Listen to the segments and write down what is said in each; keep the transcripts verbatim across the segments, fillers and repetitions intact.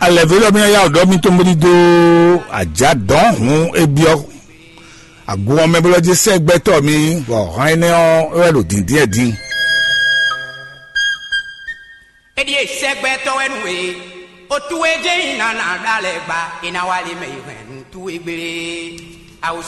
Alɛ̌vélɔ́ mì yá ɖɔ mì tɔn bó ní dó ajǎ dɔ̌n hǔn é byɔ́ agun ɔ́ mɛ bó lɔ́ jɛ sɛ́ gbɛtɔ́ mi, bɔ hɔn énɛ́ ɔ́ é wɛ ɖo dǐndín ɛ din. Eɖie sɛgbɛtɔ́ wɛ nú we, otu e jɛ nyi nana ɖa lɛ gba, e na wa le mɛ yi hɛn nú tu e gbére.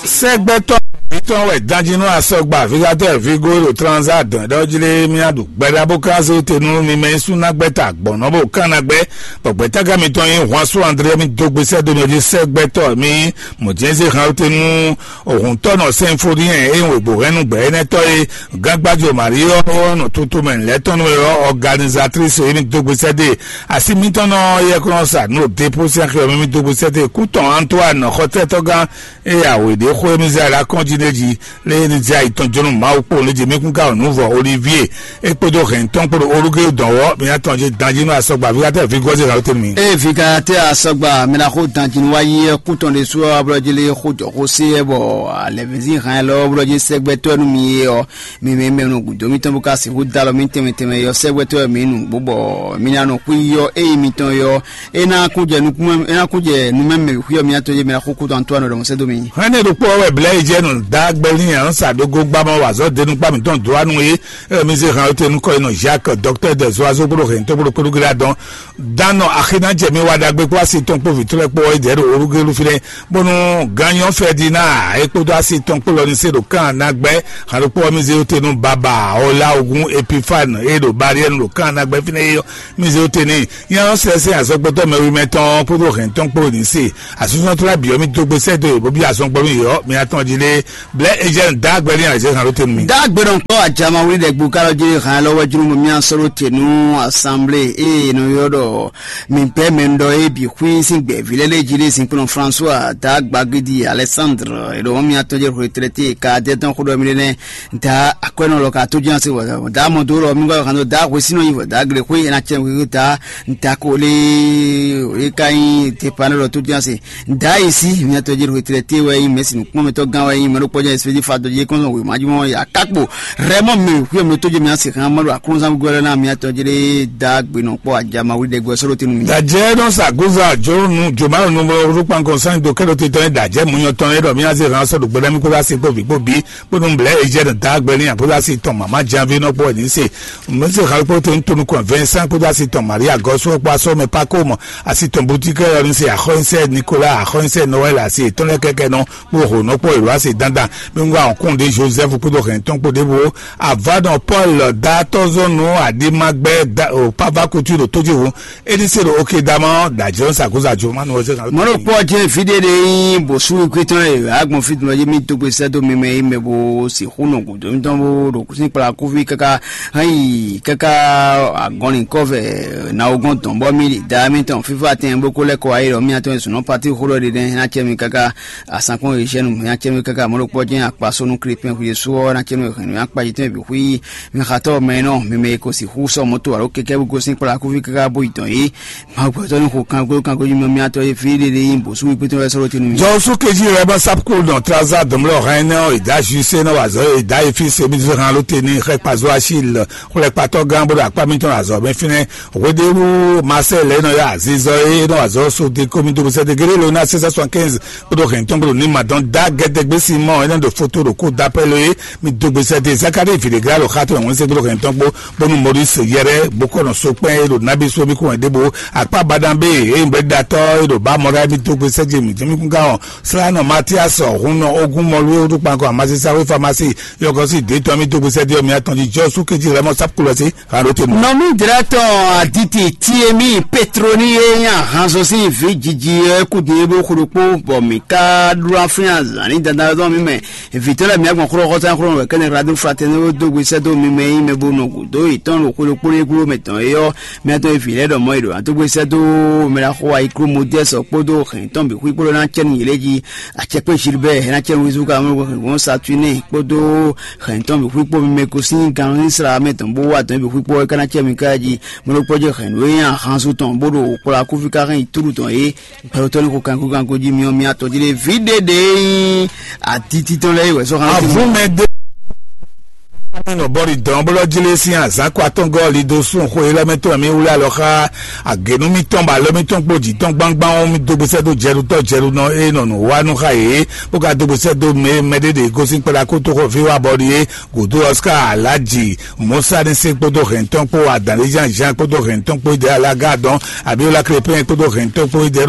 Sɛgbɛtɔ́ mǐtɔn wɛ danjínú asɔgba Vigatɛ́ Vigo ɖo Transa dɔn ɖɔ jí lé mía ɖu gbɛɖá bó ká zé te nú mi mɛ yín sú ná gbɛ́ ta gbɔ̌n nɔ bó kán ná gbɛ́, bɔ gbɛ̌tágán mitɔn nyí Hwansu André mi dó gbe sɛ́ dó nɔ jí sɛgbɛtɔ́ mi mɔ̌ jɛ́n zé han te nú Òhun tɔ́ nɔ sɛnfóniyɛn e nyí wěgbóhɛnnú gbɛ̌ énɛ́ tɔ́ e gángbájɔ Maríɔ nɔ tutu mɛ lɛ́ tɔn nú ɔ́, ɔganizatrísi e mì dó gbe sɛ́ dó e asi mitɔn nɔ yɛkúnɔ sa nú ɖo dépósí axi ɔ́ mɛ mì dó gbe sɛ́ dó e kú tɔn Antoine xɔtɛ́tɔ́gán e awě ɖě xó e mì zɛ alakɔ́n jí nɛ́ jí lé e ní zɛ ayi tɔn jó nú Mawu kpó lě jí mì kún ka wɔ nǔ vɔ Olivier é kpódó hɛn tɔn kpó ɖo olúgé dɔn wɔ́ mì atɔn jí danjí nú asɔgba Vigatɛ́ Vigɔ́ zé hǎlótenu mì. Ée Vigatɛ́ asɔgba mɛ ná xó danjí nú wá yí ɛ kú tɔn ɖésú ɔ́, ablɔ́ jí lé xó jɔ xó sé ɛ bɔ alɛ̌vɛzín hɛn ɛ lɔ bɔ jí sɛgbɛtɔ́ nú mi é ɔ́, mi mɛ mɛ nɔ gǔdo mitɔn bó ka sixú dó alɔ mì tɛnmɛ tɛnmɛ yɔ sɛgbɛtɔ́ mi nǔgbó bɔ mi ná nɔ xwí yɔ ée mitɔn yɔ é ná kún jɛ nukún é ná kún jɛ numɛmɛ xwí ɔ́ mi atɔn jí mi ná xó kú tɔn tó anɔ ɖɔmɔ sɛ́ dó mi. Hɛn ne ɖokpó ɔ́ wɛ blɛ́ yi jɛ nɔ dá gbɛlí yɛn sa dó gó gbá mɔ wazɔ denu kpá mitɔn dó anu é. Emi zé hàn te nukɔ yi nɔ Jacques, docteur des oiseaux kpódó hɛn tó kpódó kpódó gíra dɔn. Dan nɔ axi ná jɛ mi wa ɖagbe kpó asi tɔn kpó vǐtrɔ́ kpó ɔ́ yi dɛ̌ ɖo Orugelu fínɛ́, bónú gányɔ Fɛdina é kpódó asi tɔn kpó lɔ ní se ɖo kán ná gbɛ́ hǎn ɖokpó ɔ́ mì zé wú te nú Baba Ɔlá Ogún Epifane é ɖo Bariɛnu ɖo kán ná gbɛ́ fínɛ́ é ɔ́, mì zé wú te n'i. Nyɛ ɔ́ sɛ́ sɛ́n azɔ̌gbɔ́tɔ́ mɛwimɛ tɔn ɔ́ kpódó hɛn tɔn kpó ní se asúsúnɔ tó lɛ́ bǐ ɔ́, mì dó gbe sɛ́ dó yě bó byɔ́ azɔn gbɔ nú yě ɔ́, mi atɔn jí lé blɛ́ é jɛ nǔ dá gbɛ n'i azɔ̌ hǎn ɖó te nú mi. Dá gbe nɔ kpɔ́ ajama wlí ɖɛ̌gbú ká lɔ jí hǎn lɔ wɛ jló mɔ mì sɔ́ ɖó te nú assemblée ée è nɔ ylɔ́ ɖɔ mǐ gbɛ́ mɛ ɖɔ é bǐ xwí sín gbɛ̌ví lɛ́ɛ lé jí lé zinkplɔ́n François dá gbagidi Alexandre è ɖo mì atɔn jɛ retraité ka dɛ tɔn xó ɖɔ mì ɖé nɛ́ da akwɛ́nɔ lɔ ka tó jɛ́n se wɔ da mɔ dó lɔ mi gbɔ kan dó da hwesínɔ yi wɔ da gle xwé ena cɛ wíwí da da ko lé é ka nyí tepa lɔ tó jɛ́n se da yi sí mi atɔn jɛ retraité wɛ nyí mɛsi nukpɔnmɛtɔ gán wɛ nyí mɛ ɖokpɔ jɛ espédi fa dɔ jɛ kɔn wè ma jí mɔ ya kakpo rɛmɔ mi xwé mi tó jɛ mi asi kan ma ɖo aklúnzán gbɛlɛ na mi atɔn jɛ da gbe nɔ kpɔ ajama wuli dɛ gbɛ sɔrɔ tenu mi. Dajɛ nɔ sa goza jo nu joma nu mo ru kpankɔ sani do kɛlɛ titɔ ni dajɛ munyɔ tɔn ne dɔ mi ase hàn sɔdɔ gbɛdɛ mi kó la se kpó vi kpó bi kpó nu blɛ ejɛ nɔ da gbɛ ni akpó la se tɔn mama janvi nɔ kpɔ ni se mo se hàn kpó te ntonu kɔn Vincent kpó la se tɔn Maria gɔsu kpó asɔ mɛ pako mɔ asi tɔn butikɛ yɔ ni se axɔnsɛ Nicolas axɔnsɛ Noël asi tɔn lɛ kɛkɛ nɔ kpó ho nɔ kpó elu asi dandan mi ŋgɔ àwọn kún de Joseph kpó do hɛn tɔn kpó de bo Avadɔ Paul datɔzɔnu aɖimagbɛ da o pava kutu ɖo tójúwu. Eni se ɖo oke damɔ ɖajɔ sakusa jo manu ɔsɛ kan. Mɔnɔ kpɔ jɛ fide de yin bosu kwetɔ ye agbɔn fitun lɔ ye mi to gbe sɛ do mi mɛ yi mɛ bo si xunɔ gudo mi tɔn bo ɖo kusin kpla kuvi kaka hɛn yi kaka agɔnni kɔfɛ na ogɔn tɔn bɔ mi da mi tɔn fifa tɛn boko lɛ kɔ ayi lɔ mi atɔn sunɔ pati xo lɔ de dɛ na cɛ mi kaka asankpɔn Eugène mɛ acɛnú kaka mɔɖokpɔ jɛn akpasonu krepin xwiesu ɔ́ na cɛnú hɛn nú akpaji tɔn bǐ xwí mi xatɔ mɛ nɔ mi mɛ ko sixú sɔ moto alo kɛkɛ bó gosín kplá kúvi kaka bó yi tɔn yé. Mawu gbɛtɔ ní xo kanko kanko yi mɛ miatɔ yé fi ɖe ɖe yi bòsú wípé tɔn wɛ sɔrɔ tinu mi. Jɔwɔsu keji rɛ bɔ sapkul dɔn traza dɔmlɔ hɛn nɛ ɔ ìdá juise nɔ wazɔ ìdá efi semi hàn ló te ní xɛ kpazɔ asi lɛ xlɛ kpatɔ gán bó ɖo akpá mitɔn azɔ mɛ fínɛ. Hweɖéwú Marcel e nɔ yá azizɔ e nɔ azɔ so de komi do sɛ de géré lo ná six cent soixante-quinze kpódó hɛn tɔn kpódó ní ma dɔn dá gɛdɛgbé Simɔn e nɔ ɖo foto ɖo kó dapɛlo e mi do gbèsè de Zakari viɖégra ɖo xató ɛ̀wọ̀n se kpódó hɛn tɔn kpó bónú Maurice yɛrɛ bó kɔ nɔ so kpɛn e ɖo nábí so mi kún wɛn ɖěbó akpá baɖan bé e nyí bɛ́ ɖatɔ́ e ɖo bá mɔ ɖá mi do gbèsè je mi jɛ mi kún gán ɔ slanɔ Matias ɔ̀hún nɔ ogún mɔlú e wútu kpankɔ amasisáwé famasi yɔkɔsi dé tɔn mi do gbèsè de ɔ mi atɔn jí jɔ sú kéjì rɛ mɔ sápkúlɔ sí. Nɔmí dlɛ́tɔn aditi Tiemi Petroni e nyi ahanzɔ sín vǐ jiji ɔ́ kú din é bó xo ɖokpó, bɔ mǐ ka ɖó aflín azǎn ní dandan ɔ́ mì mɛ. Vǐtɔ́ lɛ́ɛ mǐ agbɔn xlɔ́xɔ́sán xlɔ́ wɛ kɛ́nɛ Hladu Fratɛ́ni dó gbe sɛ́ dó mi mɛ e nyí mɛ bo nɔ gǔdo yětɔn ɖo xwé ɖokpó ɖé gló mɛ tɔn é ɔ́, mǐ atɔn e vǐ lɛ́ɛ ɖɔ mɔ̌ è ɖǒ ná dó gbe sɛ́ dó mɛ ɖaxó ayikúló Modɛ́sɔ kpódó hɛ̌ntɔn bǐ xwí kpódó ná cɛ́ nú yě lɛ́ɛ jí. Acɛkpé Gilbert ná cɛ́ nú Wizú ka mɔ hɛ̌ngbɔ́n Satúnɛ kpódó hɛ̌ntɔn bǐ xwí kpó mi mɛ ko sín gan Izlayɛ́li mɛ tɔn bó wá dɔ̌n bǐ xwí kpó é ka ná cɛ́ mi ká jí. Mɔɖokpɔ́ jɛ hɛ̌nnu e nyi ahanzu tɔn bó ɖo kplɔ́ akúvi ká hɛn yi túɖu tɔn é. Gbɛɖotɔ́ ní xo kankukanku jí mi ɔ́, mi atɔn jí ɖe vǐ ɖé ɖě nyí atiti tɔn lɛ́ɛ é wɛ sɔ́ hán. Avúmɛ dé. Nɔ bɔli dɔn bó lɔ jlé sín azǎn kɔ atɔngɔ́ li dó sún xwe lɛ́ mɛ tɔn mì wlé alɔ xá agěnú mítɔn bɔ alɔ mítɔn kpó jǐ tɔn gbangban ɔ́, mì dó gbèsè dó jɛɖutɔ́ jɛɖunɔ e nɔ nǔ wa nú xá yě, bó ka dó gbèsè dó mɛ mɛɖé ɖě gosín kpɛɖé akótóxɔví wa bɔli é gǔdo Oscar Alhaji Musa ní se kpódó hɛn tɔn kpó adǎn Jean Jean kpódó hɛn tɔn kpó Ide Alaga dɔn Abiola Crépin kpódó hɛn tɔn kpó Ide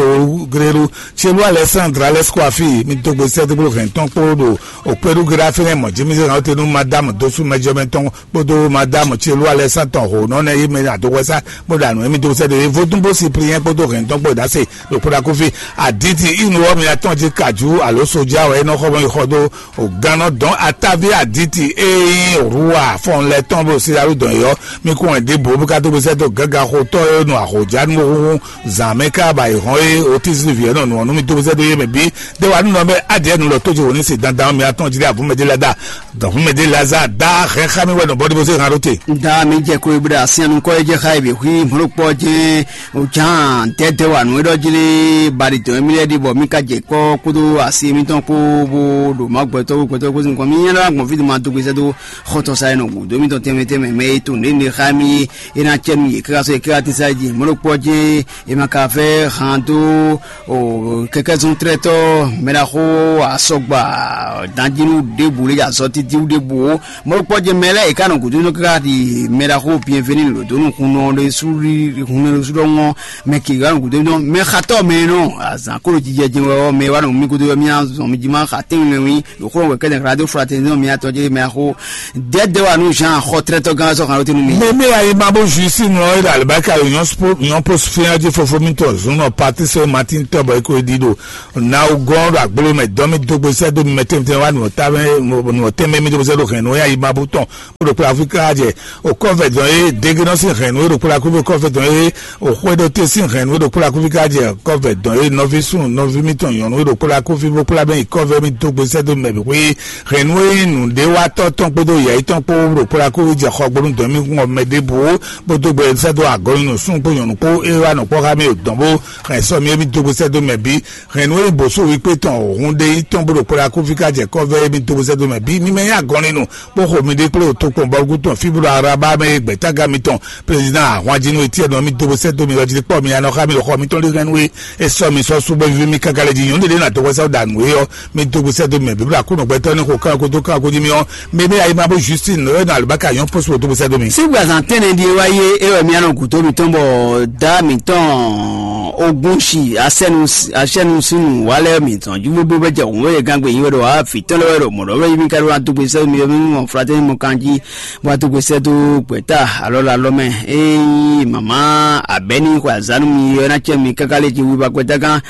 Grélu Chelú Alexandre Alexkwafi, mì dó gbèsè dó kpó hɛn tɔn kpó ɖo òkpɛ́ɖu Gérard Fɛnɛ mɔ Jimmy Zéran te nú Madame Dosu Mɛjɔmɛ tɔn kpódó Madame Chelú Alexandre tɔn ho nɔ nɛ yi mɛ adoxɔsa kpódó anu émi dó sɛ de vodún bó Cyprien kpódó hɛn tɔn kpó dase ɖo kpódó akófí aditi inu wɔ mi atɔn jí kaju alo soja wɛ nɔ xɔ mɔ yi xɔ dó o gannɔ dɔn atavi aditi eyi rua fɔn lɛ tɔn bó si alu dɔn yɔ mi kún wɛ dé bo bí ká dó gbèsè dó gángan xotɔ e nɔ ahojánu huhun zan mɛ ká ba yi hɔn e o tí zili viɛ nɔ nɔ nú mi dó gbèsè dó yé mɛ bí de wa nínú bɛ adìẹ nù lọ tó jẹ wò ní se dandan mi atɔn jí dé avú mɛ dé la da dɔn fún mɛ dé la za da hɛn xá mi wɛ nɔ bɔ dé bó se hàn ló te. Nda mi jɛ kó ibú ɖe asianu kɔ edze xa ebe hui mɔlɔkpɔ jɛ ojan tɛtɛ wa nu edɔ jili bari tɔn emi lɛ di bɔ mi ka jɛ kɔ kodo asi mi tɔn ko bo ɖo ma gbɛtɔ gbɛtɔ ko sin kɔ mi nyɛ la gbɔn fi ma do gbèsè do xɔtɔ sa yɛ nɔ gu do mi tɔn tɛmɛ tɛmɛ mɛ eto ne ne xa mi ena cɛ nu ye kaka so ye kaka ti sa ji mɔlɔkpɔ jɛ e ma ka fɛ han do o kɛkɛzɔntrɛtɔ mɛɖaxo asɔgba danjinu ɖebu le azɔ titiwu ɖebu o mɔlɔkpɔ jɛ mɛ lɛ e ka nɔ gudo nɔ kaka di mɛɖaxo bienveni lodonu hunnɔ ɖe su hunnɔ ɖe su ɖɔ ŋɔ mɛ ke ka nɔ gudo nɔ mɛ xatɔ mɛ nɔ azan kolo jijɛ jɛ wɛ mɛ wa nɔ mi gudo yɔ mi azɔn mi ji ma xa tɛnwe mɛ wi ɖo xlɔ wɛ kɛdɛ xla do fraternité mɛ atɔ jɛ mɛ axo dɛdɛ wa nu jean xɔ trɛtɔ gan sɔ kan lo tenu mi. Mɛ mɛ ayi ma bo juice nɔ ila alibaka union post finya ji fofo mi tɔ zun nɔ parti sɛ martin tɔ bɔ eko di do na o gɔn do agbolo mɛ dɔn mi dogbo sɛ do mi mɛ tɛmɛ tɛmɛ wa nɔ ta mɛ nɔ tɛmɛ mi dogbo sɛ do hɛn nɔ ya yi ma bo tɔn o do kpla afrika jɛ o kɔfɛ dɔn ye dege nɔ si hɛn nɔ o do kpla kúbi kɔfɛ dɔn ye o xwedɔte sín hɛn nú e ɖo kplɔ́ akúvi ká jɛ kɔ́vɛ dɔn e nɔví súnnu nɔví mítɔn nyɔ̌nu e ɖo kplɔ́ akúvi bó kplá bɛ́ nyi kɔ́vɛ mì dó gbe sɛ́ dó mɛ bǐ xwé hɛn nú e nyí nǔɖéwatɔ́ tɔn kpódó yɛ̌yí tɔn kpó ɖo kplɔ́ akúvi jɛ xɔ gbónú dɔn mì kún ɔ mɛ ɖěbǔ bó dó gbe sɛ́ dó agɔ̌ nyi nǔsúnnu kpó nyɔ̌nu kpó e wá nɔ kpɔ́ xá mì ɖo dɔn bó hɛn sɔ́ mì émí dó gbe sɛ́ dó mɛ bǐ hɛn nú e nyí bǒsú wíkpé tɔn hǔn ɖe nyí tɔn bó ɖo kplɔ́ akúvi ká jɛ kɔ́vɛ émí dó gbe sɛ́ dó mɛ bǐ mì mɛ nyí agɔ̌ nyi nǔ bó xo mi ɖe kplé ɖo tokpɔn bɔlugútɔn fí bó ɖo Araba mɛ e gbɛ̌tágán mitɔn Président ahwanjínú etí ɛnɔ mi dó sɛ́ dó mi ɔ́ jí kpɔ́ mi anɔ xá mi ɖo xɔ mitɔn ɖi hɛn nú é. É sɔ́ mi sɔ́ sú bɔ víví mi káká lɛ́ jí nyɔ̌nu ɖé ná dó hwɛsá danu é ɔ́, mi dó sɛ́ dó mi mɛ bíbélà kúnɔ gbɛtɔ́ ní xo kán kó dó kán kó jí mi ɔ́, mi mɛ ayé ma bó Justine nɔ é nɔ alubáka nyɔ́ pɔ́sibɔ dó sɛ́ dó mi. Sígbà zan tɛ́nɛ ɖi é wá yé é wɛ mi anɔ gǔdo mitɔn bɔ dá mitɔn ogun si asɛnu asɛnu sinu wá lɛ́ mitɔn jí gbogbo bɛ jɛ hǔn wɛ gangbe yín wɛ ɖo afi tɔn lɛ wɛ ɖo mɔ̌ ɖɔ wɛ yí mi ka ɖo adógbe sɛ́ mi yɔ mi mɔ flatɛ́ni mɔ kan jí bó wá dó gbe sɛ́ dó gbɛ̌ta alɔ lɛ alɔ mɛ. Ée mama abɛ́ni xwe azǎn nú mi ɔ́ ná cɛ mi káká lé jí wíwá gbɛ́ta gán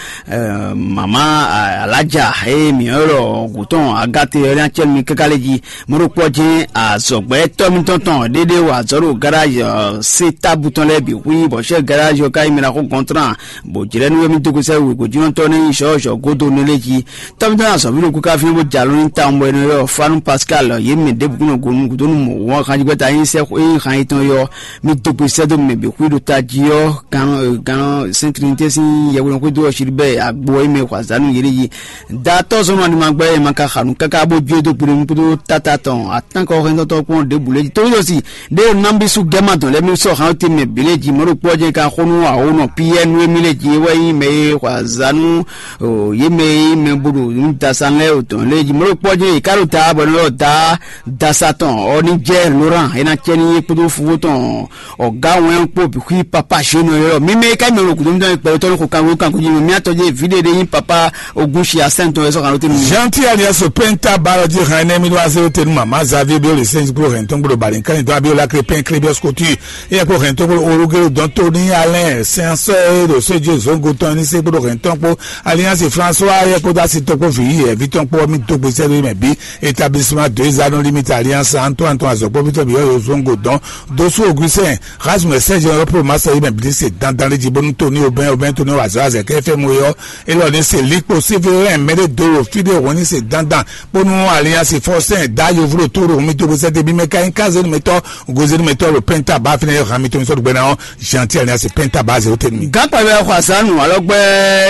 mama alájà ée mi ɔ́ lɔ gǔtɔn agáte ɔ́ ná cɛ mi káká lé jí. Mɔɖokpɔ jɛ́n azɔ̌gbɛ́tɔ́ mitɔn tɔn ɖéɖé wa azɔ̌ ɖo garázi ɔ́ sé tábu tɔn lɛ́ɛ bǐ xwí bɔ sɛ́ garázi ɔ́ ka yi mɛ ná xó gɔntrán bó jlɛ́ nú émí dó gbe sɛ́ wěgbójúnɔtɔ́ nɛ́ nyí sɔ́ zɔ̌ godo nú lé jí. Tɔ́mítɔ́ ná azɔ̌ví ɖokpó ká fínɛ́ bó jɛ alɔ nyi tawun bɔ è nɔ ylɔ́ Fanu Pascal yě mɛ ɖěbǔ kún nɔ go nukúndónú mɔ wɔn xanjígbɛ́ta e nyí sɛ́ e nyí han yětɔn é ɔ́, mì dó gbe sɛ́ dó mɛ bǐ xwí ɖo tají ɔ́, gǎn gǎn Sɛ́n Trinité sín yɛhweɖɔxwédo ɔ́ Shilibɛ́ɛ agbo ɔ́ é mɛ xɔ azǎn nú yě ɖ'é jí. Datɔ́ zɔ́n nɔ animagbɛ́ e ma ka xa nǔ káká bó jó e dó gbeɖé nukúndó táta tɔn atánkɔ hɛntɔ́tɔ́ kpɔ́n ɖěbǔ lɛ́ɛ jí. Tónúdó si ɖé nɔ́ ná bí sú gɛ́ ma dɔn lɛ́ɛ mì sɔ́ han ɔ́ tɛnmɛ bǐ lɛ́ɛ jí mɔ̌ ɖokpó ɔ́ jɛ́n ka xó nú awǒnɔ Piyɛ́ɛ nú émí lɛ́ɛ jí é wɛ nyí mɛ e xɔ azǎn nú yě mɛ e nyí mɛ bo ɖo nǔdasa lɛ́ɛ o tɔn lɛ́ɛ jí mɔ̌ ɖokpó ɔ́ jɛ́n è ká ɖo ta bɔ è nɔ ylɔ́ da dasa tɔn ɔ́ ní jɛ Loran é ná cɛ ní é kpódó fofó tɔn ɔ̀gá wɛn kpó bǐ xwí papa Zhénɔ ylɔ́ mi mɛ e ká mɛ ɖo gǔdo mitɔn kpɛɖé tɔn ní xo kanwé kanko jí mɛ mía tɔn jɛ vǐ ɖé ɖé nyí papa Ogunsi asɛn tɔn é sɔ́ kan ló tɛ́ mi. Jean Pierre Niasso Penta Barodi René Miloise Tenu Mama Xavier Biolise Gblo Hɛntɔn Gblo Balinkan Dɔn Abiola Crépin Crébios Couture Eyɛkpo hɛn tógbó orúkérú dɔn tó ní alɛn sɛnsɔ e ɖo sójú zongo tɔn ní sɛ́kpó ɖo hɛn tɔn kpó alliance François ayɛkpo dó asi tɔn kpó vǐ yi ɛ̀ví tɔn kpó mì dó gbèsè lórí mɛ bí établissement deux anneaux limite alliance Antoine Antoine azɔkpɔ́ vitɔ biyɔ yo zongo dɔn dosú Augustin Rasmus Serge Europe masa yi mɛ bí se dandan lé jí bónú tó ní obɛn obɛn tó ní wazɔ azɛ kɛ fɛ mu yɔ elɔ ní se likpo sévérin mɛɖé dó fíɖé hɔn ní se dandan bónú alliance Faustin dá yovlo tó ɖo mì dó gbèsè débi mɛ ká nyí kazénu mɛtɔ gozenumɛtɔ ɖo pɛnta ba fínɛ yɔ hami tó ń sɔdɔ gbɛna ɔ Jean Pierre Niasse pɛnta ba zéro tɛnu. Gakpa bɛ xɔ asanu alɔgbɛ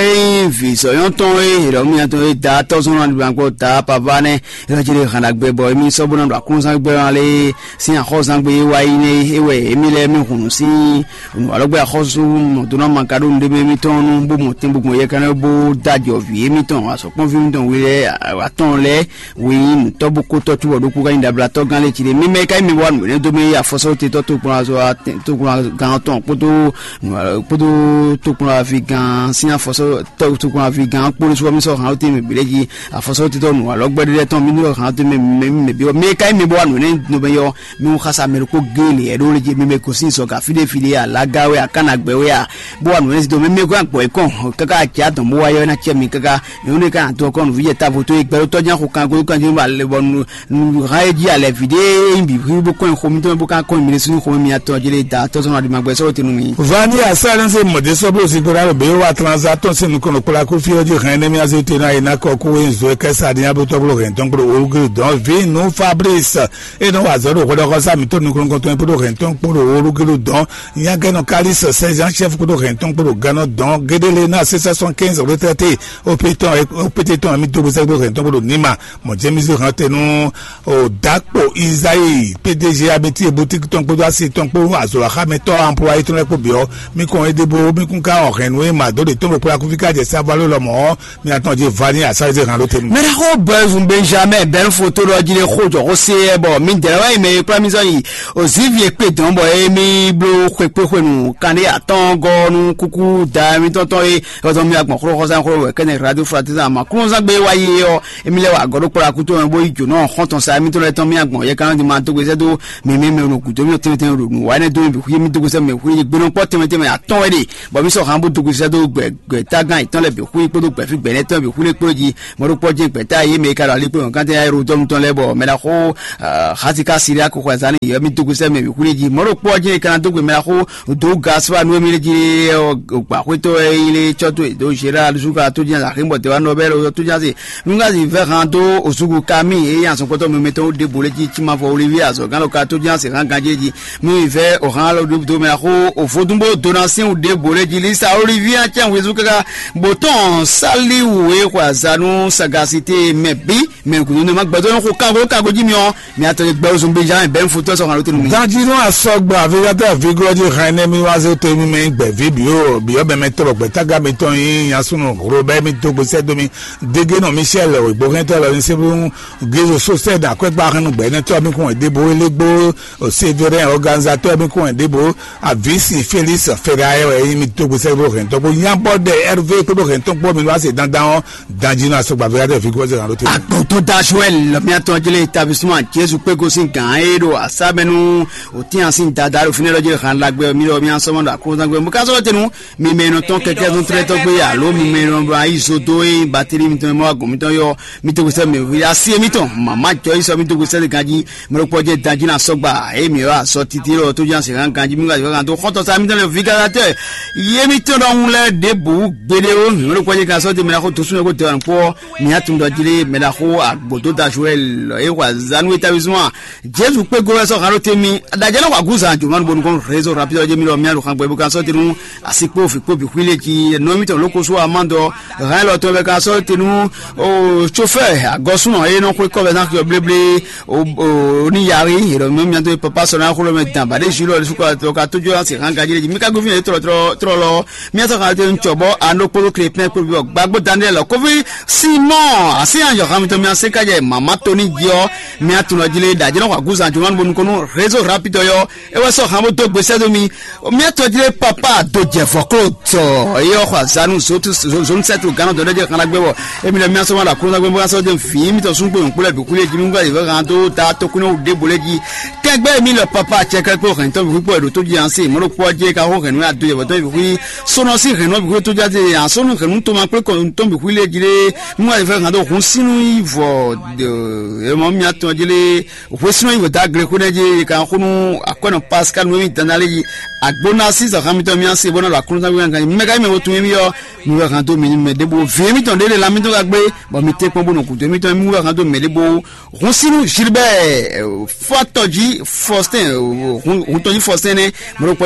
yin vi sɔyɔntɔn e yɛlɛ miatɔn e da tɔsɔn na dugbankɔ da papa nɛ yɔ jeli hana gbɛ bɔ emi sɔbɔna do akun Xɔzángbɛ́ ɔ́ lé sín axɔ́zángbé e wá yi nɛ́ é wɛ émí lɛ́ɛ mɛ hun nǔ sín nǔ alɔgbé axɔ́sú mɔ̌dónúmagaɖó nǔɖé mɛ émítɔn nú bó mɔ tɛn bó gbɔn yɛkanlɛ́ bó dó ajɔ̌ví émítɔn azɔ̌kpɔ́nví émítɔn we lɛ́ɛ atɔn lɛ́ɛ we nyí nǔtɔ́ bó kó tɔ́ cóbɔ ɖokpó ká nyí ɖablatɔ́gán lɛ́ɛ cí ɖe. Mímɛ́ ka nyí mɛ wá nǔ énɛ́ dó mɛ yí afɔsɔ́ te tɔ́ tokplɔ́nzɔ́ tokplɔ́ngán tɔn kpódó kpódó tokplɔ́nví gán sín afɔsɔ́ tɔ́ tokplɔ́nví gán kpódó súnmọ́ mí sɔ́ hǎn ó te mɛ bǐ lɛ́ɛ jí afɔsɔ́ te tɔ́ nǔ alɔgbé ɖé lɛ́ɛ tɔn mí nú hǎn ó te mɛ mɛ mɛ bǐ mɛ ka nyí mɛ bó wá nǔ énɛ́ dó mɛ yɔ mɛ xasa mɛ ɖokpó géle ɛ ɖó lé jí mɛ mɛ gosín zɔga fíɖé fíɖé a lága wɛ a kána gbɛ wɛ a bó wá nǔ énɛ́ dó mɛ mɛ gbɔ ɛ kɔn káká jɛ adɔn bó wá yɔ ná cɛ mi káká mɛ wúne ká dɔn kɔn nǔví jɛ távo tó gbɛɖó tɔ́ ján xo kan gbɛɖó kan jɛ́n bɔ alɛ bɔ nu ha e jí alɛ vǐ ɖé e nyí bǐ bó kɔn xo mi tɔn bó ká kɔn mi ɖésú xo mi atɔn jɛ da tɔ́ sɔn aɖima gbɛ sɔ́ tenu mi. Vani asálẹ́nsì mɔ̀dé sɔ́bló zigbora ló bẹ́ẹ̀ wá transa tɔn sín nukɔn kpla kó fí ɔjí hɛn nɛ́mí azé tenu ayé ná kɔ kó wé nzó kɛsá ní abótɔ́bló hɛn tɔn kpó olúkúlù dɔn vǐ nú Fabrice e nɔ wa zɔ ɖo hwɛɖɔxɔsá mǐtɔn nukɔn tɔn kpó hɛn tɔn kpó olúkúlù dɔn Nyagɛnɔ Kalis sɛzan chef kpódó hɛntɔn kpódó gannɔ dɔn gédélé ná six cent soixante-quinze retraité opétɔn opété tɔn mi dógó sɛgbó hɛntɔn kpódó nima mɔ James hante nú o dakpo Isayi P D G abeti boutique tɔn kpódó asi tɔn kpó azɔlɔxámɛtɔ employé tɔn lɛ́ kpó biɔ mi kɔn édébó mi kún ká ɔ hɛn nú e ma dó ɖe tɔn ɖo kpó akúfí ká jɛ sábalo lɔ mɔ mi atɔn jɛ vani asayise hàn ló tenu. Mɛɖexó Bɛzun Benjamin bɛn foto ɖɔ jí ɖe xó jɔ xó se ɛ bɔ mi dɛrɛ wá yi mɛ e kplá mi zɔ yi Ozivi e kpe dɔn bɔ émí bló xwekpéxwenu kanɖé atɔ́ɔ́ngɔ́ nú kúkú da mitɔn tɔn e hɔzɔn mi agbɔn xló xɔsán xló wɛ kɛnɛ radio fratizan ma kúnzán gbé wá yi ɔ émí lɛ wà gɔɖó kplá kútó mɛ bó yi jǒnɔ xɔntɔn sa émítɔn lɛ tɔn mi agbɔn yɛ kanɔ di ma dó gbèsè dó mɛmɛ mɛ nɔ gǔdo mi tɛnmɛ tɛnmɛ ɖo nǔ wá nɛ dó mi bixú yé mi dó gbèsè mɛ xú yé gbénɔ kpɔ tɛnmɛ tɛnmɛ atɔn wɛ ɖe bɔ mi sɔ han bó dó gbèsè dó gbɛ gbɛtagán yětɔn lɛ bǐ xwí kpódó gbɛ̌fí gbɛ̌nɛ́tɔn bǐ xwí lé kplé jí. Mɔɖokpɔ́ jɛ́n gbɛ̌ta e yě mɛ e ka ɖo ali kpé wɔ̌nkántɛn ayélujára tɔn lɛ́ɛ bɔ mɛ ɖaxó Xatika Siriaku xwɛzán ni yě mì dó gosɛ́ mɛ bǐ xwí lé jí. Mɔɖokpɔ́ jɛ́n e ka ná dó gbe mɛ ɖaxó dó Gaspar nú émí lé jí lé gba xwétɔ́ e nyí lé cɔ́ tó e dó Gérard Zúka tó jɛ́n axémɔ dɛ̌ wá nɔ bɛ́ lɔ tó jɛ́n se. Nungazi vɛ́ han dó Ozugu Kami e nyí azɔ̌nkpɔ́tɔ́ mɛmɛtɔn ɖěbǔ lé jí Címavɔ Olivier azɔ̌gán lɔ ka tó jɛ́n se hán ganjí jí. Mì vɛ́ o hán lɔ ɖó mɛ xó o vodúnbó donasín ɖěbǔ lé jí Lisa Olivier acɛ́n wezú káká bó tɔn sálíwú e xwe azǎn nú sagasité mɛ bǐ mɛ gǔdo nɛ ma gbɛdó nɔ xo kango kango jí mi ɔ́ mi atɔ gbɛ ozun Benjamin bɛn fotɔ sɔ kan ló tenu mi. Danjinu asɔgba avigatɔ aviglɔ ji hɛn ne mi wá zé to mi mɛ gbɛ vi bi o bi ɔbɛ mɛ tɔlɔ gbɛ taga mi tɔn yi yasunu ro bɛ mi to gbèsè domi dege nɔ Michel ògbóhɛntɔ lɔ ní sébú gézo sosɛ dà kɔɛ gba hɛn gbɛ nɛ tɔ mi kún ɛdebo elegbo Sévérin organisateur mi kún ɛdebo avisi Félix Ferre ayɛ wɛ yi mi to gbèsè ro hɛn tɔ ko nyabɔ dɛ Hervé kpódó hɛn tɔn kpó mi wá se dandan ɔ Danjinu asɔgba avigatɔ aviglɔ ji hɛn ló tenu. Agbɔtɔ da Joël lɔmiatɔ jele établissement Jesu kpégo sín gǎn e ɖo asámɛnú òtín asin dada ɖo fínɛ́ lɔ jele hàn lágbɛ mi lɔ mi asɔmɔ ɖo akózangbe mo ká sɔrɔ tenu mi mɛ nɔ tɔn kɛkɛ zɔn tlɛ tɔgbe alo mi mɛ nɔ ɖo ayi zo do e bateli mi tɔn mɔ agɔn mi tɔn yɔ mi to gbèsè mi asi mi tɔn mama jɔ yi sɔ mi to gbèsè ganji mɛ ɖo kpɔjɛ Danjinu asɔgba e mi yɔ asɔ titi lɔ tó jan se ganji mi ka yɔ kan to xɔtɔ sa mi tɔn lɛ vigalatɛ ye mi tɔn ɖɔhun lɛ ɖe bo gbeɖe o mi ɖo kpɔjɛ kan sɔ ti mɛ na xo to sun yɔ ko tɛ wa nukpɔ mi atun dɔ jili mɛ na xo agbodo da Joël e wa zanu établissement Jesu kpé go wɛ sɔ halo temi adadjɛ na wa gu zan jomanu bonu kɔn réseau rapide ɔjɛ mi lɔ mi alu xan gbɛ bo kan sɔ tenu asi kpó fi kpó bi xwile ji nɔ mi tɔn loko so amandɔ hàn lɔ tɔn bɛ kan sɔ tenu o chauffeur agɔsunɔ e nɔ xwe kɔ bɛ na xiyɔ bleble o o ni yari yɛrɛ mi mi to papa sɔ na xolo mɛ dan ba de ju lɔ su ka to ka to jo asi hàn gaji ji mi ka go fi ne trɔ trɔ trɔ lɔ mi sɔ kan to ncɔ bɔ ano kpolo kle pɛn kpolo bi gbagbo daniel kofi Simon asi anjɔ hami to mi ase ka jɛ mama toni jɔ mi atunɔ jile da jɛnɛ wa guzan jumanu bonu kɔnu réseau rapide yɔ e wɛ sɔ hàn bó dó gbèsè dó mi mi atɔ jile papa do jɛ fɔklo tɔ eyɔ xɔ azanu zotu zonu sɛtu gánà dɔ ɖe jɛ xana gbɛ wɔ emi lɛ mi asɔ ma la kúrò gbɛ bó asɔ jɛ fi mi tɔ sun gbɛ nkpó lɛ bi kúlẹ̀ jimi ŋgbà yìí fẹ́ hàn tó ta tó kúnú de bolɛ ji kẹgbẹ́ mi lɛ papa cɛ kẹgbẹ́ hɛn tɔ bi kúkpɔ ɛdó tó di ansi mɔdó kpɔ jẹ ka hó hɛn nú adó yɛ bɔtɔ bi kúlẹ̀ sɔnɔ si hɛn nɔ bi kúlẹ̀ tó jáde asɔnu hɛn nú tó ma kpé kɔ tó bi kúlẹ̀ ji lé ŋgbà yìí fẹ́ hàn tó hun sínú yìí vɔ ɛ mɔ mi atɔ ji lé Hwesúnɔ yi wědó aglekwénɛ́ jí yi kan xó nú akwɛ́nɔ Pascal nú émí dandále yi agbóná sísɔ xá mitɔn mì asi bó ná ɖo aklúnɔ́ wi kan mɛ ka yi mɛ wo tun émí ɔ́ mi wɛ hàn dó mì ní mɛ ɖěbǔ vǐ émítɔn ɖé lé la mitɔn ka gbé bɔ mi tɛ́ kpɔ́n bó nɔ gǔdo émítɔn émí wɛ hàn dó mɛ ɖěbǔ. Hun sínú Gilbert Fatɔji Faustin hun tɔjí Faustin nɛ mɛ ɖokpɔ